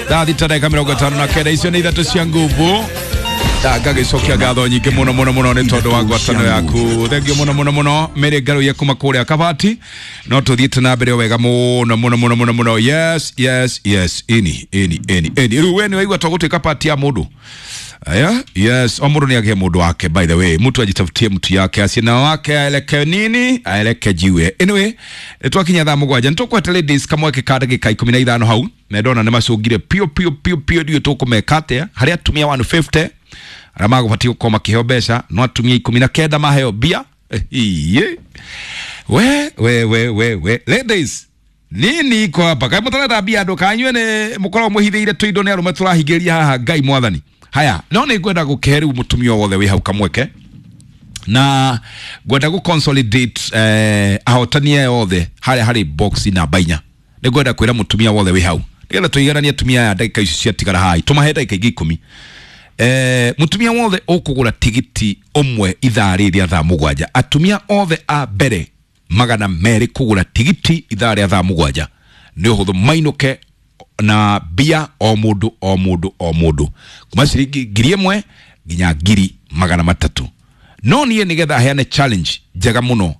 Thaa 6 ndagĩka 59, icio nĩ ithatũ cia nguvu. Ngagĩcokia ngatho nyingĩ mũno mũno mũno nĩ tondũ wa ngwatanĩro yaku. Thengiũ mũno mũno mũno Mary Ngaruiya kuma kũrĩa Kabati. No tũthiĩte na mbere o wega mũno mũno mũno mũno mũno. Yes, yes, yes, ini ini ini ini. Rĩu we nĩ waigua tũgũtuĩka pati ya mũndũ. Aya, yes, o mũndũ nĩ agĩe mũndũ wake. By the way, mtu ajitafutie mtu yake, asina wake aeleke nini, aeleke jiwe. Anyway, twakinya thaa 7 nĩ tũkwete ladies kamweke ka ndagĩka 15 hau na ndona nĩ macũngire pio pio pio pio. Ndiũĩ tũkũmeka atĩa harĩ atumia 150 arĩa magũbatiĩ gũkorwo makĩheo mbeca, no atumia 19 maheo mbia. Iye. We we we we we, ladies, nini iko hapa? Kaĩ mũtarenda mbia andũ kanyue nĩ mũkoragwo mũhithĩire tũindo nĩ arũme tũrahingĩria haha? Ngai mwathani. Haya, no nĩ ngwenda gũkĩhe rĩu mũtumia wothe wĩ hau kamweke na ngwenda gũ consolidate ahotani aya othe harĩa harĩ box namba 4. Nĩ ngwenda kwĩra mũtumia wothe wĩ hau nĩgetha tũigananie atumia aya ndagĩka ici ciatigara haha, tũmahe ndagĩka ingĩ 10. Mũtumia wothe ũkũgũra tigiti ũmwe ithaa rĩrĩ rĩa thaa 7, atumia othe a mbere 200 kũgũra tigiti ithaa rĩa thaa 7, nĩ ũhũthũ mainũke na mbia o mũndũ o mũndũ o mũndũ kuma ciringi 1,000 nginya 300,000. No niĩ nĩgetha heane challenge njega mũno.